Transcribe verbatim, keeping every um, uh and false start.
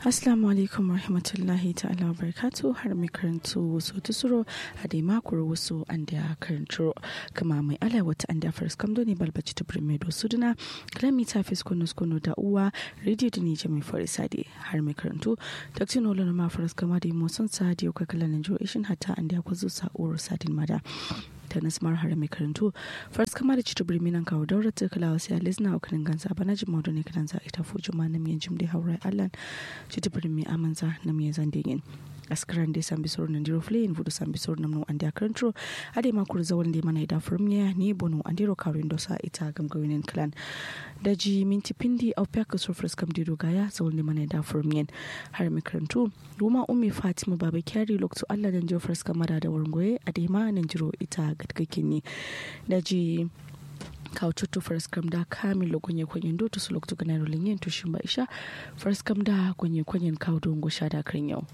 Assalamu alaikum warahmatullahi ta'ala wabarakatuh. Har mai karantu wuso tusuro, adai ma kuru wuso andeya karanturo. Kǝma mai alai wata andeya faraskam done balba citǝ birme do suduna. Kǝla mita fiskon nuskon da uwa, radio done jami farisa de. Har mai karantu, taktino lono ma faraskam adai moson sa de yau kakala nanjuro ishin hatta andeya kwazo sa uro sadin mada. Tanas maro har mai karantu, faraskam adai citǝ birme nan kawo daura tǝ kǝla wasi alai zǝna wa kǝnin ganza bana jimma done kǝlanza ita fuju ma nam yen jim de haurai allan. Citǝ birme amanza nam yen zande yen. Askǝran de sambi soro nandiro fule yen fudu sambi soro nam no andeya karanturo. Adai ma kuru zawal de mana ida furum ne ni bono andiro karu indo sa ita gamgawinin kǝlan. Daji minti pindi au piya kǝsuro faraskam de do gaya zawal de mana ida furum yen. Har mai karantu, wuma ummi fatima baba kyari loktu allah nanjiro faraskam ada da warngoye adai ma nanjiro ita gatkakkin ne. Daji kawo cuttu faraskam da kamin lo gonye konyen do tusu loktu ganairo lenyen tushin ba isha. Faraskam da gonye konyen kawo do ngo sha da kǝrin yau.